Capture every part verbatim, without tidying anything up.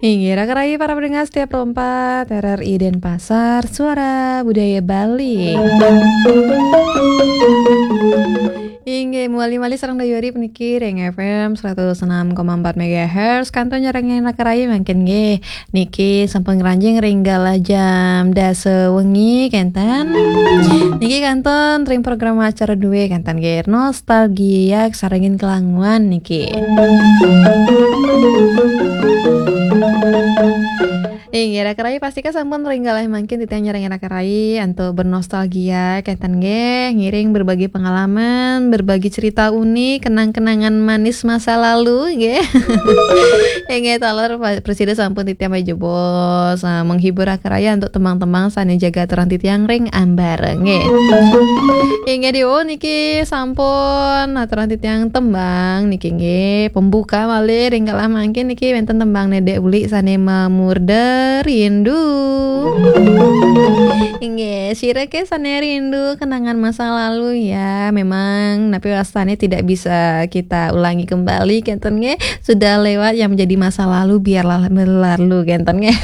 Inggih, raka rayi para pendengar setia Pro empat R R I Denpasar, Suara Budaya Bali. Inggih, muali malih sareng Dayori puniki ring F M seratus enam koma empat megahertz, kantun nyarengin raka rayi mangkin nggih. Niki sampun ngranjing ring galah jam dasa wengi, kenten. Niki kantun ring program acara duwe, kenten nggih. Nostalgia sarengin kelanguan niki. Inggih, raka rayi pastika sampun ring galah mangkin titiang nyarengin raka rayi antuk bernostalgia, kenten nggih, ngiring berbagi pengalaman, berbagi cerita unik, kenang-kenangan manis masa lalu, nggih. Inggih, taler pa-, prasida sampun titiang pajebos, ah, menghibur raka rayi antuk tembang-tembang sane jaga aturang titiang ring ambara, nggih. Inggih, diu niki sampun aturang titiang tembang niki, nggih. Pembuka malih ring galah mangkin niki wenten tembang Nedek Uli sane mamurda Rindu. Inggih, sira ke sane rindu kenangan masa lalu ya. Memang napi wastane tidak bisa kita ulangi kembali, kenten nggih. Sudah lewat, yang menjadi masa lalu biarlah berlalu, kenten nggih.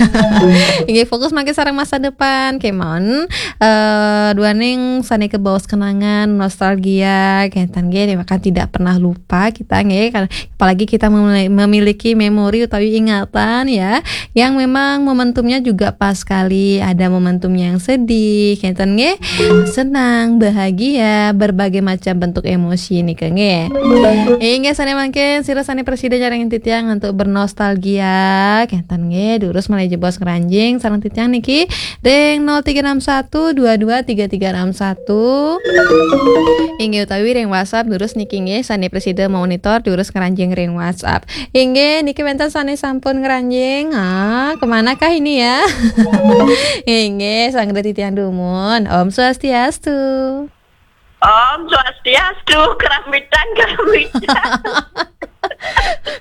Inggih, fokus mangkin sareng masa depan kemawon. Eh, duaning sane kebaos kenangan, nostalgia, kenten nggih, maka tidak pernah lupa kita nggih. Kan, apalagi kita memili-, memiliki memori utawi ingatan ya, yang memang momentumnya juga pas sekali. Ada momentum yang sedih, kenten nggih, senang, bahagia, berbagai macam bentuk emosi nika nggih. Inggih, sane mangkin sira sane prasida nyarengin titiang antuk bernostalgia, kenten nggih, durus malih jebos ngranjing sareng titiang niki ring nol tiga enam satu dua dua tiga tiga enam satu. Inggih, utawi ring WhatsApp durus niki nggih, sane prasida monitor durus ngranjing ring WhatsApp. Inggih, niki wenten sane sampun ngranjing. Ah, kemanakah ini ya? Inggih, sanggra titiang dumun. Om Swastiastu. Om Swastiastu, keramitan, keramitan.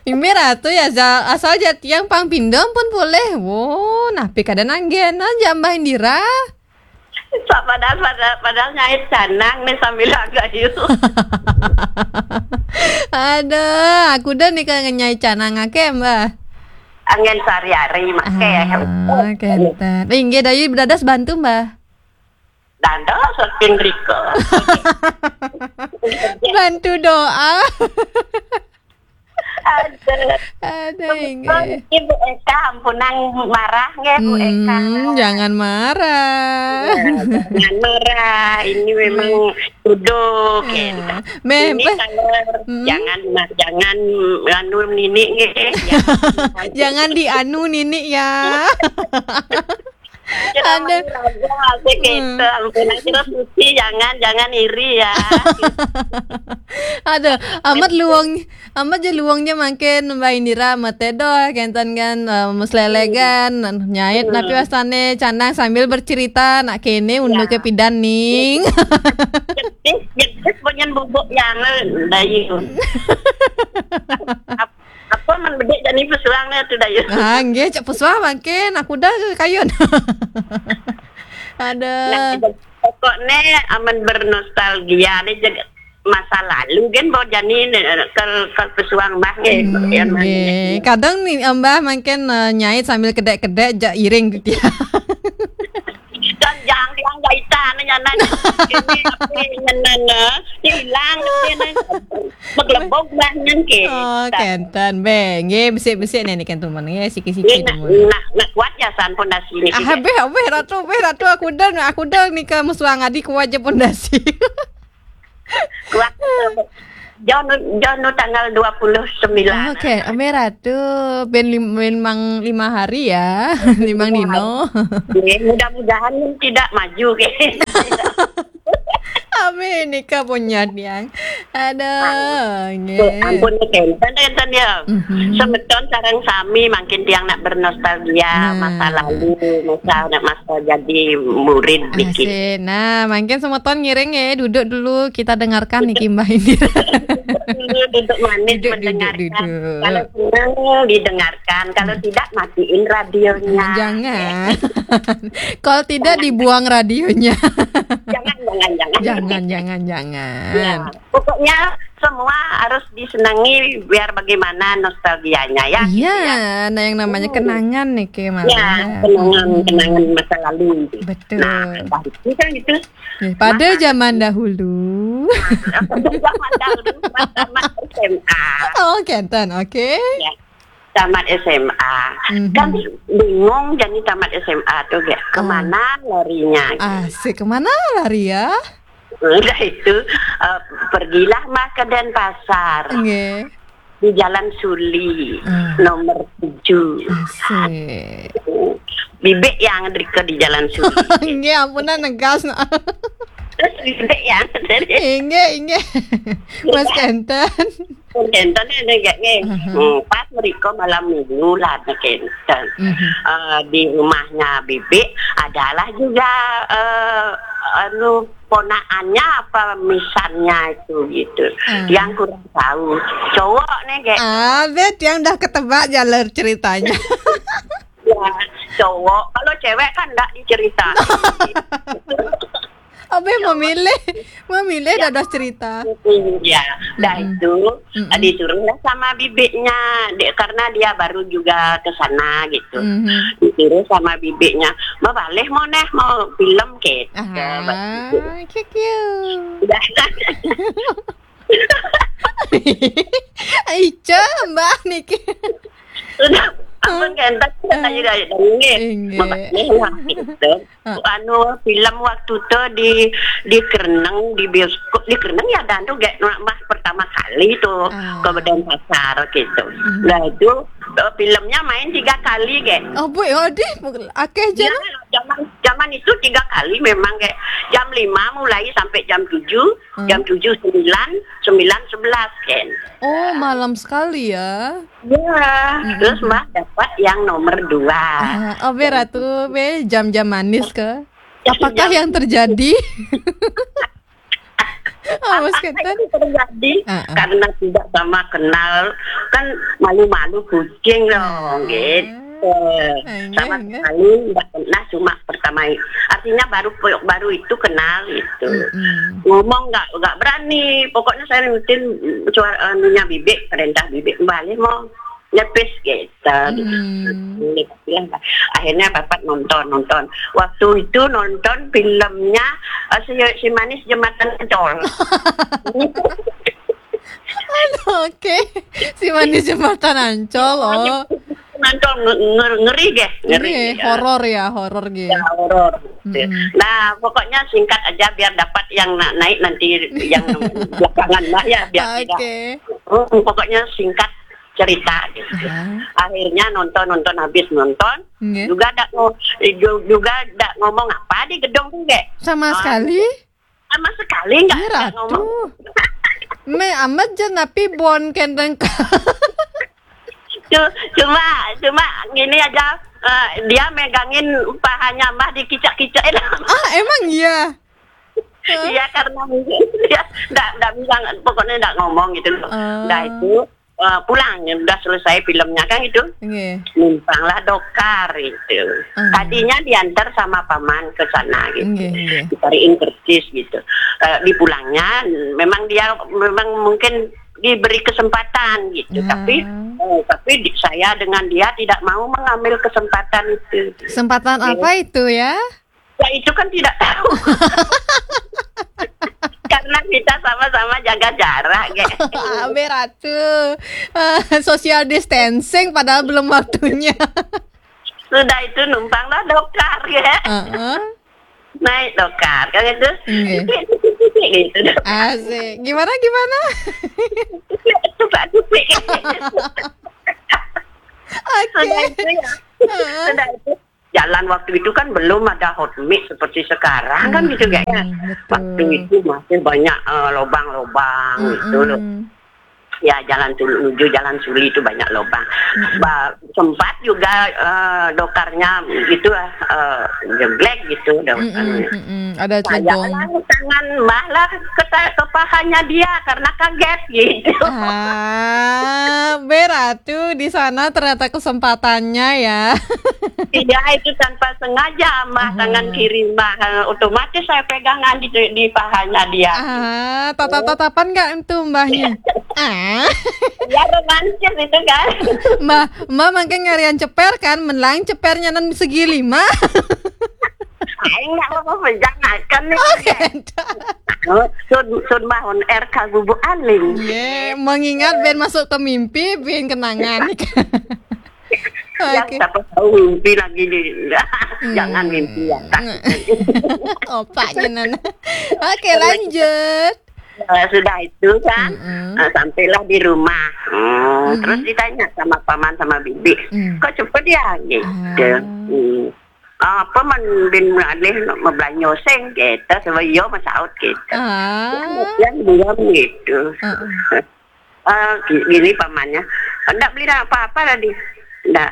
Mimih Ratu ya, asal, asal ja tiang pang pinda pun boleh. Wo, napi kada nanggen aja Mbah Indira. Sa-, padahal, padahal, padahal nyait canang nih sambil agayu. Aduh, aku dah nih kangen nyait canang ake, Mbah. Angin sehari-hari make. Ah, kenten. Inggih, Dayu dados bantu, Mbah. Dados saking rika. Bantu doa. Ada. Ada, inggih. Ibu Eka, ampunang marah nggih, Bu Eka. Hmm, jangan marah. Ya, jangan marah. Ini memang duduk, ya. Ah. Meh, ini meh. Kalau hmm. Jangan, jangan anu nini nggih. Jangan dianu nini ya. Kita ada. Main raga, asik hmm. Gitu. Ampun, aja suci, jangan, jangan iri ya. Aduh, amat luang, amat je luangnya mangkin Mbak Indira, mate doh, kenten kan, eh, meslelegan, nyait, hmm. Napi wastane, canang sambil bercerita, nak kene, unduke ya. Pidan ning. Jedis, jedis, punyen bubuk yang, dayu. Apa man bedik jani pesuang ne tu, Dayu? Ah, nggih, cak pesuang mangkin. Aku dah ke kayun. Ada. Nah, pokoknya aman bernostalgia ni jeg-, masa lalu kan bawa jani ne, kal, kal pesuang bah nggih. Hmm, yang nggih. Kadang ni, Mbah mangkin, eh, nyait sambil kedek-kedek jak iring gitu ya. Dan jang tiang jaitan nyanan. Ini apa nyanan, eh? Hilang, nyanan. Beglebok bah nyen ke. Oh, kenten. Be, nggih, besik-besik nih, nih, kenten, nggih, siki-siki. Ini nak, nak, nak kuat ya san pondasi ini. Ah, be, be, Ratu, be, Ratu, aku dah, aku dah nih ke musuh ngadi kuat je pondasi. Kuat. Jauh, jauh tanggal dua puluh sembilan. Oke, Ame Ratu, ben lim-, ben mang lima hari ya, limang dino. Oke, mudah-mudahan tidak maju, oke. Ame nika punya tiang. Aduh, nggih. Ampun, kenten, kenten ya. Mhm. Semeton sareng sami mangkin tiang nak bernostalgia masa lalu, masa, nak masa jadi murid niki. Asik. Nah, mangkin semeton ngiring ya, duduk dulu, kita dengarkan niki Mbah Indira. Duduk, duduk manis. Duduk, duduk, mendengarkan. Duduk. Kalau senang, didengarkan. Kalau tidak, matiin radionya. Jangan. Kalau tidak, dibuang radionya. Jangan. Jangan, jangan. Jangan, jangan, jangan. Ya, pokoknya semua harus disenangi biar bagaimana nostalgianya, ya, gitu, ya. Iya, nah, yang namanya Hmm. kenangan nih, Ke, malah. Ya, kenangan, Hmm. kenangan masa lalu. Betul. Nah, dari itu kan gitu. Ya, pada Masa zaman dahulu. Pada zaman dahulu, pas tamat S M A. Oh, kenten, oke. Ya, tamat S M A. Mhm. Kan bingung jadi tamat S M A tuh, kayak, Ah. kemana larinya, gitu. Asik, kemana lari ya? Udah itu, eh, pergilah mah ke Denpasar. Nggih. Di Jalan Suli, Ah. nomor tujuh. Asik. Bibik yang di, ke di Jalan Suli. Nggih, ampunan negas, nah. Terus bibik yang dari Inggih, inggih. Mas Kenten. Kenten ada gak nih? Aha. Hmm, pas mereka malam minggu lah, Kenten. Mhm. Eh, di rumahnya Bibik adalah juga, eh, anu, ponakannya apa misannya itu gitu. Ah. Yang kurang tahu. Cowok nih, kayak Ah, bet yang dah ketebak jalur ceritanya. Ya, cowok. Kalau cewek kan nggak dicerita. Abe memilih, memilih Ya. dados cerita. Mm, ya, dah Mm-mm. itu, Mm-mm. disuruhlah sama bibiknya, dek, karena dia baru juga ke sana gitu. Mhm. Disuruh sama bibiknya, "Mau balik mau neh, mau film," gitu. Ah, cute, cute. Udah. Ica, Mbak niki. Sudah, ampun, Hah? Kenten, kita Hah? tadi dari, dari nggih. Inggih. Mbak, nih lah, gitu. Ah. Anu, film waktu tu di, di Kereneng, di bioskop, di Kereneng ya, dan tu gek, Mbak, pertama kali tu Ah. ke Denpasar, gitu. Hmm. Dah itu, eh, filmnya main tiga kali, gek. Oh, Bu, oh, deh, akeh je Ya, lah. zaman, zaman itu tiga kali memang, gek. Jam lima mulai sampai jam tujuh, Hmm. jam tujuh sembilan, sembilan sebelas, kan. Oh, malam sekali ya. Ya, Mm-mm. terus Mbak dapat yang nomor dua. Ah, oh, be Ratu, be jam-jam manis ke? Apakah Jam yang terjadi? Oh, Mas Apakah Kenten? itu terjadi Ah, ah. karena tidak sama kenal? Kan malu-malu kucing dong, Ah. gitu. Ah, Sama enggak, enggak. sekali nggak pernah, cuma pertama i-, artinya baru, baru itu kenal, gitu. Mm-mm. Ngomong nggak, nggak berani. Pokoknya saya ngikutin suara, anunya bibik, perintah bibik. Balik mau nyepis, gitu. Hmm. Akhirnya dapat nonton, nonton. Waktu itu nonton filmnya, eh, si, si Manis Jembatan Ancol. Aduh, oke. Si Manis Jembatan Ancol, oh. Ancol nge-, nge-, ngeri deh, ngeri. Iya, Ya. horor ya, horor gitu. Ya, horor. Mm-mm. Nah, pokoknya singkat aja biar dapat yang na-, naik nanti, yang belakangan lah ya, biar tidak. Oke. Hmm, pokoknya singkat cerita gitu. Aha. Akhirnya nonton, nonton, habis nonton, Nggih. juga ndak ngo-, ju-, juga ndak ngomong apa di gedung tu, gek. Sama Ah, sekali? Sama sekali nggak, Ih, nggak Ratu. ngomong. Me amat je napi bon kenten ka. Cu-, cuma, cuma gini aja, eh, dia megangin pahanya Mbah, dikicak-kicak. Ah, emang iya? Iya, karena mungkin dia ndak, ndak bilang, pokoknya ndak ngomong gitu loh. Ah. Dah itu, eh, pulang, udah selesai filmnya kan gitu. Nggih. Numpanglah dokar gitu. Ah. Tadinya diantar sama paman ke sana gitu. Nggih, nggih. Dicariin kercis gitu. Eh, di pulangnya memang dia, memang mungkin diberi kesempatan gitu. Ah. Tapi, eh, tapi di-, saya dengan dia tidak mau mengambil kesempatan itu. Kesempatan Nggih. apa itu ya? Ya, itu kan tidak tahu. Karena kita sama-sama jaga jarak, gek. Abe Ratu. Eh, social distancing padahal belum waktunya. Sudah itu numpanglah dokar, ya. Heeh. Naik dokar, kan itu. Nggih. Gitu. Asik. Gimana, gimana? Suka dupik. Oke. Sudah itu ya. Heeh. Sudah itu. Jalan waktu itu kan belum ada hot mix seperti sekarang kan gitu, gek, ya. Hmm, betul. Waktu itu masih banyak, eh, lobang-lobang gitu loh. Mm-mm. Ya, jalan Suli, menuju Jalan Suli itu banyak lubang. Mm-mm. Ba-, sempat juga, eh, dokarnya gitu, eh, jeblek gitu. Do-, Mm-mm, eh, mm-mm. Ada saya cedong. Lah, tangan Mbah lah ke, ke pahanya dia karena kaget gitu. Ah, berarti di sana ternyata kesempatannya ya. Iya, itu tanpa sengaja, Mbah, tangan kiri, Mbah. Eh, otomatis saya pegangan di, di pahanya dia. Ah, tatap-tatapan nggak itu, Mbahnya? Ah. Ya, romantis itu kan. Mbah, Mbah makin ngarian ceper kan, menlang cepernya nan segi lima. Aing nggak apa-apa, jangankan nih. Oh, sun, sun Mbah on air ka Gubuk Aling. Ye, mengingat ben masuk ke mimpi, ben kenangan. Ya, oke. Siapa tahu mimpi lagi nih. Hmm. Jangan mimpi ya, Kak. Opaknya, Nana. Oke, lanjut. Eh, sudah itu kan, Mm-mm. eh, sampailah di rumah. Hmm, Mm-mm. Terus ditanya sama paman sama bibi, Mm. "Kok cepet ya?" Gitu. Ah. Hmm. "Apa man bin alih mau belanja sing?" Gitu. Sebab iya mau saut gitu. Ah. Yang belum gitu. Heeh. Eh, gi-, gini pamannya, "Ndak beli apa-apa tadi." "Ndak."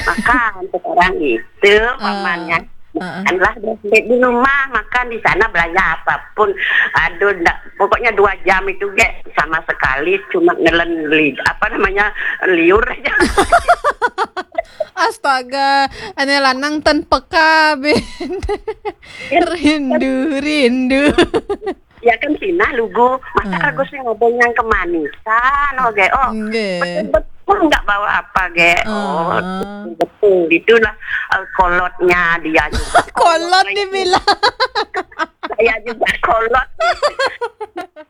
"Makan sekarang," gitu pamannya. Heeh. "Makanlah di, di rumah, makan di sana, belanja apapun." Aduh, ndak, pokoknya dua jam itu, Gek, sama sekali cuma nelen li-, apa namanya, liur aja. Astaga, ane lanang ten peka, Ben. Rindu, rindu. Ya kan sinah lugu, masa Ah. kagak sih ngomong yang kemanisan, oh, Gek. Oh, Nggih. Betul-betul nggak bawa apa, Gek. Oh, Ah. betul. Itulah, eh, kolotnya dia juga. Kolot dibilang. Saya juga kolot.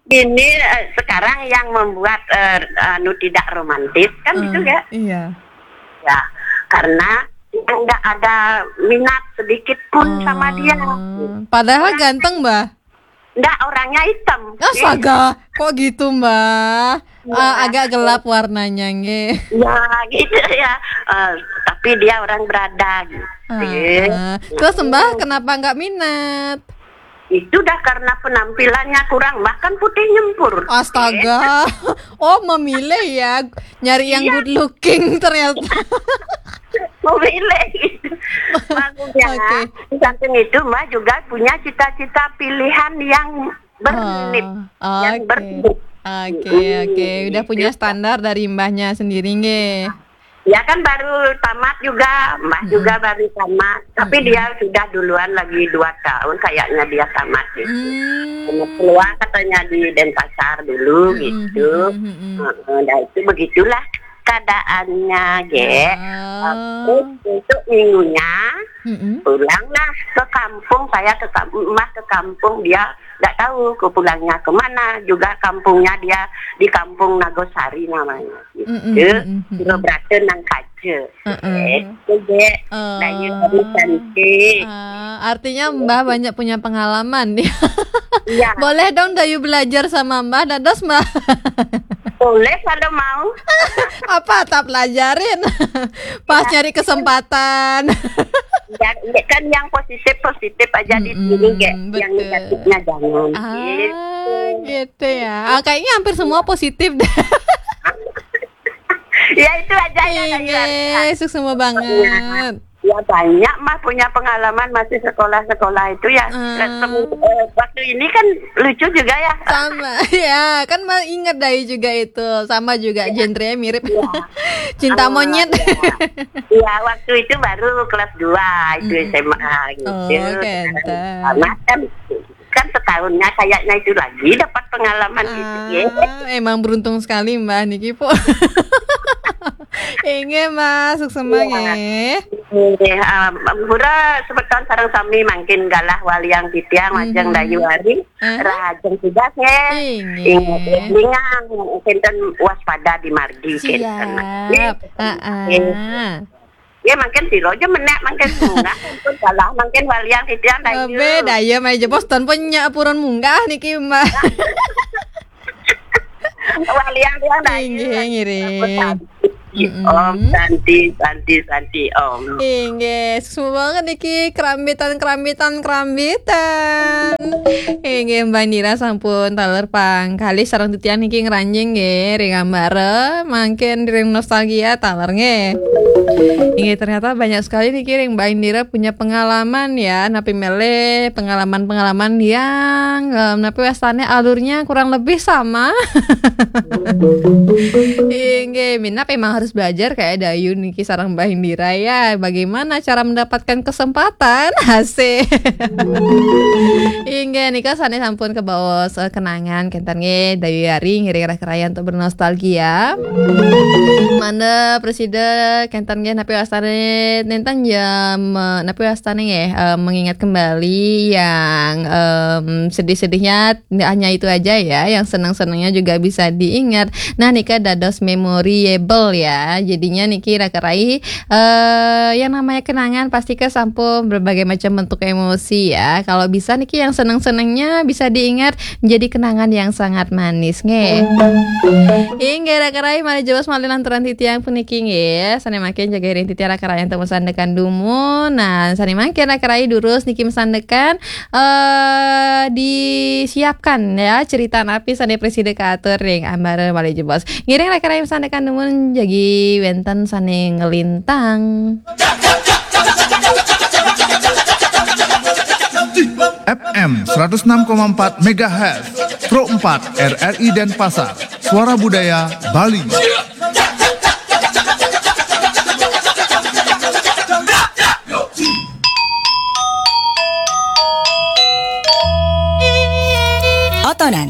Ini, eh, sekarang yang membuat, eh, anu, tidak romantis, kan gitu, Ah, Gek? Iya. Ya, karena nggak ada minat sedikit pun sama dia. Ah, padahal ganteng, Mbah. Nggak, orangnya hitam. Astaga, kok gitu, Mbah? Iya. Ah, agak gelap warnanya, nggih. Ya, gitu ya. Eh, tapi dia orang berada, gitu. Ah, terus, Mbah, kenapa nggak minat? Itu dah karena penampilannya kurang, bahkan putih nyempur. Astaga. Oh, memilih ya, nyari yang Iya. good looking ternyata. Memilih. Bagusnya, Oke. di samping itu, Mbah juga punya cita-cita pilihan yang bernit, Oh, yang oke. bernit. Oke, Mm-mm. oke. Udah punya Gitu. standar dari Mbahnya sendiri, nggih. Ya kan baru tamat juga, Mbah Mm-mm. juga baru tamat. Tapi Mm-mm. dia sudah duluan lagi dua tahun kayaknya dia tamat gitu. Hmm. Keluar katanya di Denpasar dulu Mm-mm, gitu. mm-mm, mm-mm. Heeh, dah itu begitulah keadaannya, Gek. Ah. Terus untuk minggunya, Mm-mm. pulanglah ke kampung, saya ke kam-, Mbah ke kampung, dia nggak tahu ke pulangnya kemana. Juga kampungnya dia di Kampung Nagosari namanya. Mm-mm, Gitu. mm-mm, mm-mm. Pura berata nang kaca. Heeh. Eh, itu, Gek. Oh. Dayu harus cantik. Ah, artinya Mbah banyak punya pengalaman. Iya. Boleh dong Dayu belajar sama Mbah, dados, Mbah? Boleh kalau mau. Apa tak pelajarin? Pas Ya. nyari kesempatan. Ya, ya kan yang positif-positif aja di Mm-mm, sini, Gek. Yang betul. negatifnya jangan. Ah, Gitu. gitu ya. Ah, kayaknya hampir semua positif deh. Ya, itu aja ya, Kak Iya, Iwan. Sukses semua banget. Ya, banyak mah punya pengalaman masih sekolah-sekolah itu ya. Ah. Ketemu, eh, waktu ini kan lucu juga ya. Sama, ya kan, Mbah inget Dayu juga itu. Sama juga, Iya. genre mirip. Iya. Cinta Ah, monyet. iya. Iya, waktu itu baru kelas dua itu Mm-mm. S M A gitu. Oh, kenten. Sama kan kan setahunnya kayaknya itu lagi dapat pengalaman gitu ya. Ah, emang beruntung sekali Mbah niki, Pok. Inggih, Mbah, sukses Iya. nggih. Nggih, ah, Mbura semeton sareng sami mangkin galah waliang titiang majeng Mhm. Dayu Ari. Aha. Rahajeng tugas nggih. Inggih. Inggih, lingang kinten waspada di margi kinten. Siap. Nggih. Heeh. Nggih. Ya, mangkin sira aja menek, mangkin munggah, sampun kalah, mangkin walian titiang, Dayu. Abe, Dayu, mai jebos ton punya purun munggah niki, Mbah. Walian tiang, Dayu. Inggih, ngiring. Om Santi, Santi, Santi, Om. Inggih, suksma banget niki, kerambitan, kerambitan, kerambitan. Inggih, Mbah Indira sampun taler pang kalih sareng titiang niki ngranjing nggih, ring ambara, mangkin ring nostalgia taler nggih. Inggih, ternyata banyak sekali niki ring Mbah Indira punya pengalaman ya, napi melih pengalaman-pengalaman yang, em, napi wastane alurnya kurang lebih sama. Inggih, minab emang harus belajar kayak Dayu niki sareng Mbah Indira ya. Bagaimana cara mendapatkan kesempatan? Asik. Inggih, nika sane sampun kebaos, eh, kenangan kenten nggih, Dayu Yari ngiring raka raya untuk bernostalgia. Mangda prasida kenten nggih, napi wastane nenten jam, eh, napi wastane nggih, eh, mengingat kembali yang, em, sedih-sedihnya hanya itu aja ya, yang senang-senangnya juga bisa diingat. Nah, nika dados memorable ya. Jadinya niki raka rai, eh, yang namanya kenangan pasti ke sampun berbagai macam bentuk emosi ya. Kalau bisa niki yang senang-senangnya bisa diingat menjadi kenangan yang sangat manis nggih. Inggih raka rai, malih jebos malih lanturan titiang puniki nggih. Sane mangkin jaga ring titiang raka rai untuk masandekan dumun. Nah, sane mangkin raka rai durus niki masandekan eh disiapkan ya cerita napi sane prasida katur ring ambara malih jebos. Ngiring raka rai masandekan dumun jagi wenten sane nglintang. F M seratus enam koma empat megahertz, Pro empat R R I Denpasar, Suara Budaya Bali. Otonan.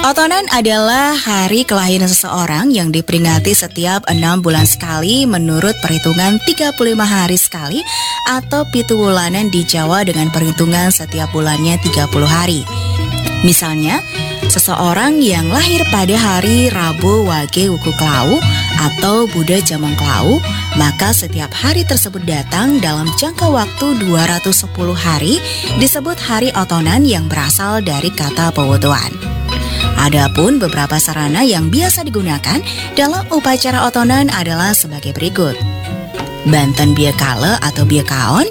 Otonan adalah hari kelahiran seseorang yang diperingati setiap enam bulan sekali menurut perhitungan tiga puluh lima hari sekali atau pitu wulanan di Jawa dengan perhitungan setiap bulannya tiga puluh hari. Misalnya, seseorang yang lahir pada hari Rabu Wage Wuku Klawu atau Buda Jamang Klawu, maka setiap hari tersebut datang dalam jangka waktu dua ratus sepuluh hari disebut hari otonan yang berasal dari kata pewotoan. Adapun beberapa sarana yang biasa digunakan dalam upacara otonan adalah sebagai berikut. Banten biakala atau biakaon,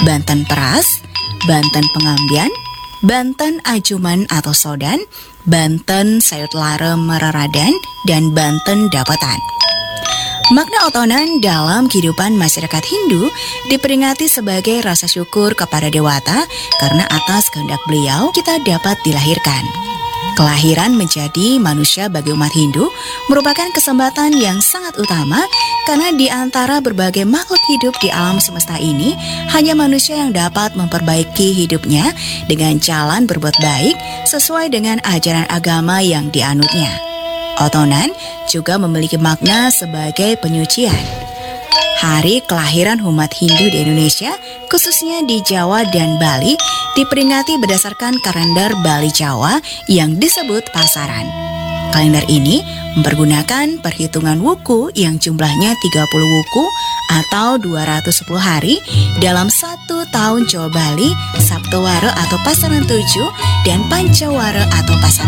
banten peras, banten pengambian, banten ajuman atau sodan, banten sayut lara meraradan, dan banten dapatan. Makna otonan dalam kehidupan masyarakat Hindu diperingati sebagai rasa syukur kepada dewata karena atas kehendak beliau kita dapat dilahirkan. Kelahiran menjadi manusia bagi umat Hindu merupakan kesempatan yang sangat utama karena di antara berbagai makhluk hidup di alam semesta ini, hanya manusia yang dapat memperbaiki hidupnya dengan jalan berbuat baik sesuai dengan ajaran agama yang dianutnya. Otonan juga memiliki makna sebagai penyucian. Hari kelahiran umat Hindu di Indonesia, khususnya di Jawa dan Bali, diperingati berdasarkan kalender Bali Jawa yang disebut Pasaran. Kalender ini mempergunakan perhitungan wuku yang jumlahnya tiga puluh wuku atau dua ratus sepuluh hari dalam satu tahun Jawa Bali, Saptawara atau Pasaran tujuh, dan Pancawara atau Pasaran